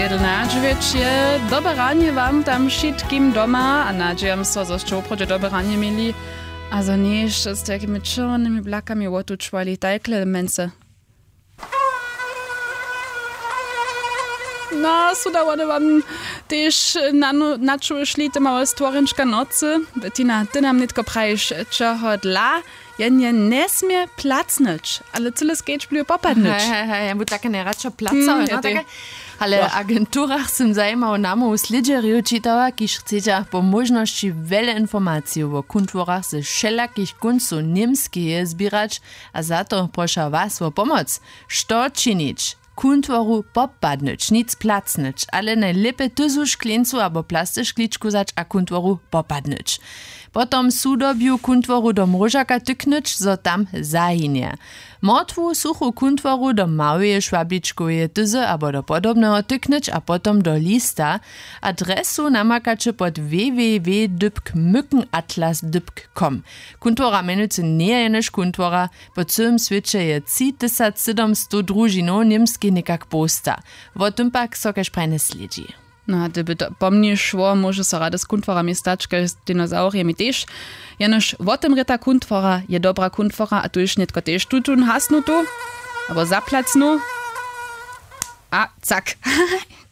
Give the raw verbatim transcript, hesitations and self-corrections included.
Jedynadźewjeć je dobre ranje wam tam wšitkim doma a nadźijam so zo sće woprawdźe dobre ranje měli, a zo njejsće z tajkimi čerwjenymi blakami wotučowali tajkle mence. No su da wone wam tež načušli te małe stworjenčka nocy. Bettina, ty nam nětko prajiš čehodla jen je njesmě placnyć, ale cyle skeč blijo popadnyć. Hej hej hej, ja bu take najradšo placał. Ale w agenturach sym zajimało namołu slědźerjow čitała, kiž chcedźa po móžnosći wjele informacijow wo kuntworach ze wšelakich kóncow němskeje zběrać. A za to proša was wo pomoc. Što činić? Kuntworu popadnyć, nic placnyć, ale najlěpje tyzu škleńcu abo plasty škličku wzać a kuntworu popadnyć. Potom sudobju kuntworu do mróžaka tyknyć zo tam zahinje. Mortwu suchu kuntworu do małeje šwabličkoweje tyzy abo do podobneho tyknyć a potom do lista. Adresu namakaće pod www dypk mykenatlas dypk com. Kuntwora mjenujcy njeje jenož kuntwora. Po cyłym swěće je tři tysac sydomstow družinow němskej někak połsta. Wo tym pak so kaž prajnje slědźi. No a dyby to po mni šło móže so rady z kuntworami stać kaž z dinosaurjemi tež. Jenož wotymrěta kuntwora je dobra kuntwora a tuž nětko tež tutón hasnutu abo zaplacnu. A cak.